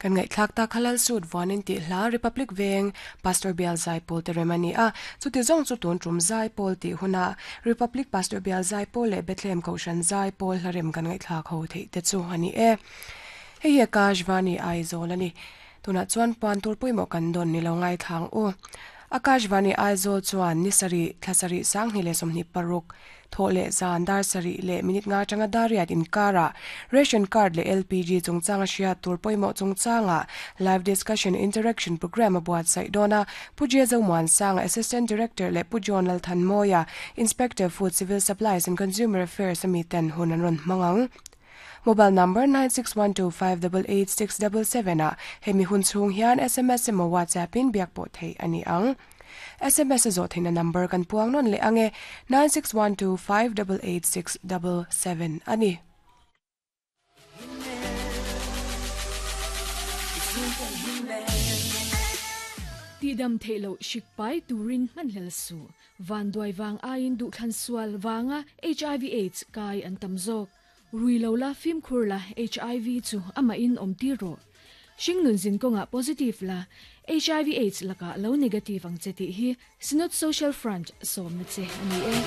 Kan ngaihthlak tak Halal Suit vuanin tih hla Republic Veng Pastor Bial Zaipawl te rem a ni a. Chuti zawng chu tun tum Zaipawl tih huna Republic Pastor Bial Zaipawl leh Bethlehem Kohhran Zaipawl hla rem kan ngaihthlak ho theih te chu a ni e. Hei hi Akashvani Aizawl a ni. Tunah chuan puan tur pawimawh kan dawn ni lo ngaithlang u. Akashvani Aizawl chuan ni sarih, thla sarih, sanghnih leh 26, thawh leh zan dar sarih leh minute nga atanga dar riat inkarah ration card leh LPG chungchanga hriat tur pawimawh chungchanga live discussion interaction programme a buatsaih dawn a. Pu Jezo Muansanga, Assistant Director leh Pu John Lalthanmawia, Inspector Food Civil Supplies and Consumer Affairs ami ten hun an rawn hmang ang. Mobile number 9612588677 ah hemi hun chhung hian sms emaw WhatsApp in biak pawh theih a ni ang. Sms a zawh theihna number kan puang nawn leh ang e, 9612588677 a ni. Tihdam theih loh hrik pai turin hmanhlel suh. Vanduai vang aiin duhthlan sual vanga HIV aids kai an tam zawk. Rui lo la, fimkhur la, HIV chu amahin awm tir rawh. Hringnun zin kawngah positive la, HIV aids lakah lo negative ang che tih hi Synod Social Front sawmna che a ni e.